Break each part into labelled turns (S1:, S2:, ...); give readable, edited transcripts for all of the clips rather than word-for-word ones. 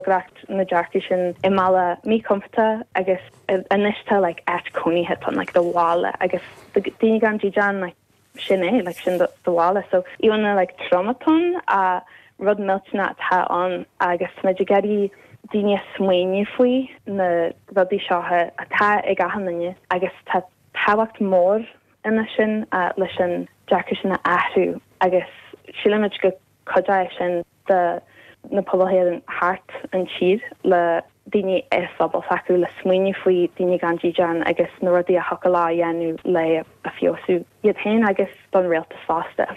S1: Freagracht na dearcadh sin i mbealach míchompordach agus anois tá like áit cónaithe ann like do bhaile agus do daoine gan dídean like sin é like sin do bhaile so íomhánna like trom atá ann ach rud millteanach atá ann agus tá muid ag iarraidh daoine a smaoineamh faoi na rudaí seo atá ag achan duine agus tá tábhacht mór ina sin leis an dearcadh sin a athrú agus sílimid go cuideoidh sin do na pobail Héireann thart an tír le daoine i phobal s'acu le smaoineamh faoi daoine gan dídean agus na rudaí a thiocfadh leo a dhéanamh le a feabhsú iad féin agus don rialtas fosta.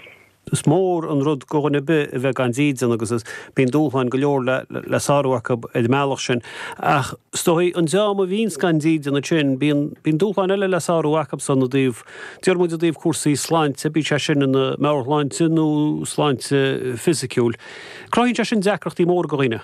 S2: Is mór an rud go dhuine ar bith a bheith gan dídean agus bíonn dúshláin go leor le sárú acu ar an mbealach sin. Ach is dóigh an dream a bhíonns gan dídean ansin, bíonn dúshláin eile le sárú acu san i dtaobh Deir muid i dtaobh cúrsaí sláinte, bíodh sé sin ina meabhairshláinte nó sláinte fisiciúil. Cruthaíonn sé sin deacrachtaí móra go dhaoine.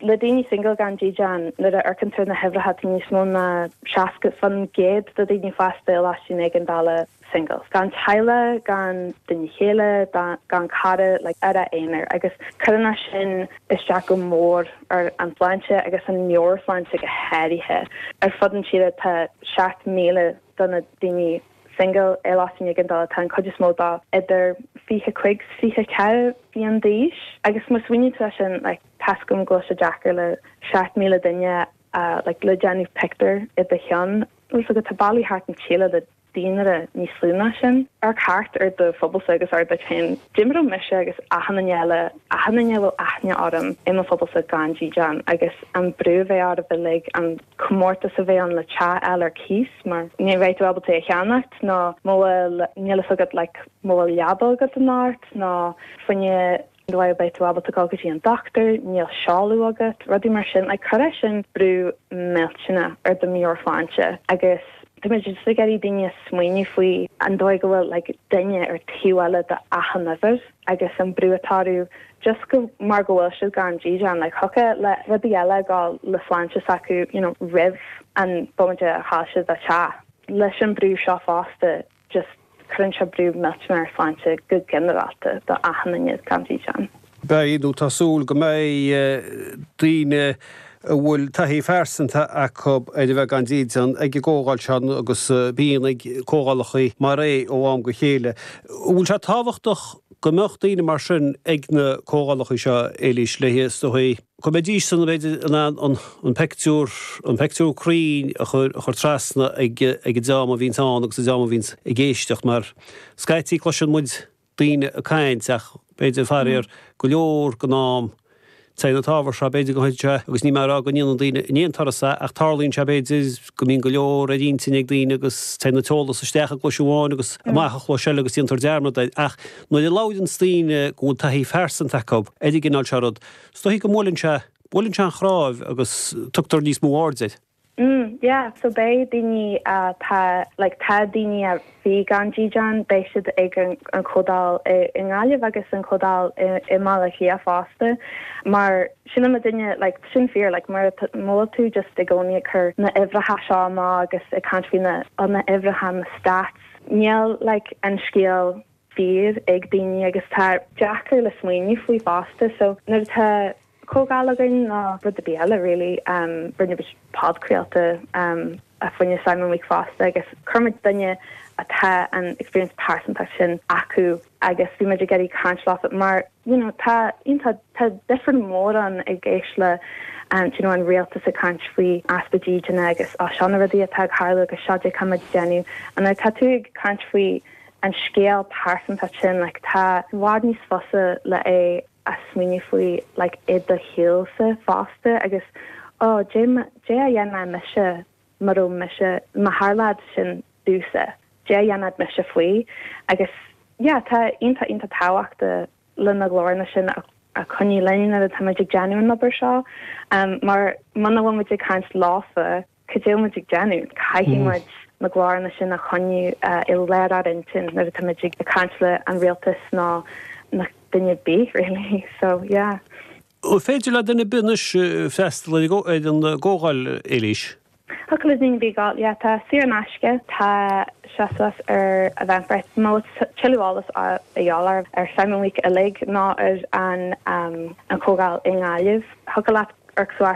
S1: Le daoine single gan dídean, nuair a amharcann tú ar na huimhreacha, tá níos mó ná 60% de daoine fásta i lóistín éigeandála single. Gan teaghlach, gan duine chéile, gan cara, like ar a aonar. Agus cuireann é sin isteach go mór ar an tsláinte agus an meabhairshláinte go háirithe. Ar fud an tíre tá 7,000 do na daoine single i lóistín éigeandála, tá an cuid is mó dó idir 25 's 24 bliain d'aois agus má smaoiníonn tú air sin like tá's agam go bhfuil sé deacair le 7,000 duine a like le déanamh pictiúr i do cheann bhfuil 's agat tá ballaí thart an tíre le daonra níos lú ná sin. Amharc thart ar do phobalsa agus ar duit féin. Dá mbeadh mise agus achan duine eile, achan duine a bhfuil aithne orm i mo phobalsa gan dídean agus an brú a bheidh oraibh uilig, an comórtas a bheidh ann le teach a fháil ar cíos mar ní bheidh tú ábalta é a cheannacht nó má bhfuil, níl fhios agat like má bhfuil leaba agat anocht nó fá choinne an dóigh a mbeidh tú ábalta dul go dtí an dochtúir, níl seoladh agat, rudaí mar sin. Like cuirfidh sin brú millteanach ar do mheabhairshláinte agus tá muid just ag iarraidh daoine a smaoineamh faoi an dóigh go bhfuil like duine ar taobh eile d'achan uimhir agus an brú atá orthu just go mar go bhfuil siad gan dídean like thiocfadh le rudaí eile a ghabháil le sláinte s'acu you know roimh an bomaite a chaill siad a teach. Leis an brú seo fosta just cuireann sé brú millteanach ar sláinte go ginearálta do achan duine gan dídean.
S2: Beidh, nó tá súil go mbeidh, daoine a bhfuil taithí phearsanta acu ar a bheith gan dídean ag an gcomhdháil seo agus bíonn ag comhdhálacha mar é ó am go chéile. An bhfuil sé tábhachtach go mbeadh daoine mar sin ag na comhdhálacha seo, Éilís, le is dóigh, go mbeidís san, b'fhéidir, in ann an peictiúr, an peictiúr cruinn a chur, a chur trasna ag, ag an dream a bhíonns ann agus an dream a bhíonns ag éisteacht mar scaití cloiseann muid daoine ag caint ach b'fhéidir faraor go leor den am Téann an t-ábhar seo, b'fhéidir go sé, agus níl mé ag rá go ndéanann daoine in aon turas é, ach tarlaíonn sé, b'fhéidir, go mbíonn go leor ar intinn ag daoine agus téann an t-eolas isteach i gcluais amháin agus amach i gcluais eile agus déantar dearmad air. Ach nuair a labhraíonns daoine go bhfuil taithí phearsanta acu ar an gcineál seo rud, is dóichí go mbuaileann sé, buaileann sé an chnámh agus tugtar níos mó aird air.
S1: Mm yeah so beidh daoine atá like tá daoine a bhí gan dídean beidh siad ag an an chomhdháil i i nGaillimh agus an chomhdháil i i mBaile Átha Cliath fosta mar sílim duine like sin fíor like mar má bhfuil tú just i gcónaí ag cur na uimhreacha seo amach agus ag caint faoi na na uimhreacha na stats níl like an scéal fíor ag daoine agus tá deacair le smaoineamh faoi fosta so nuair atá comhdháil againn nó rud ar bith eile really. Rinne muid podchraolta fá choinne Simon Week fosta agus chuir muid duine atá an experience pearsanta sin acu agus bhí muid ag iarraidh caint leofa mar you know tá iontach tá difear mór ann ag éist le you know an rialtas ag caint faoi easpa dídine agus oh seo na rudaí atá ag tarlú agus seo cad tá muid ag déanamh and nuair atá tú ag caint faoi an scéal pearsanta sin like tá i bhfad níos fusa le é a smaoineamh faoi like i do shaolsa fosta agus oh dé dé a dhéanfadh mise má raibh mise má tharlódh sin domhsa dé a dhéanfadh mise faoi agus yeah tá iontach iontach tábhachtach le na glóranna sin a a choinneáil linn nuair atá muid ag déanamh an obair seo mar muna bhfuil muid ag caint leofa Cad é muid ag déanamh? Caithfidh muid na glóranna sin a choinniú i lár ár intinn nuair atá muid ag caint le an rialtas nó nó duine ar bith really. So, yeah.
S2: An féidir le duine ar bith anois freastal ar an gcomhdháil, Éilís?
S1: Thiocfadh le duine ar bith gabháil, yeah. Tá saor in aisce. Tá sé suas ar Eventbrite. Má bhfuil tuilleadh eolas a dhíobháil ar Simon Week uilig nó ar an an chomhdháil i nGaillimh, thiocfadh leat. Amharc suas.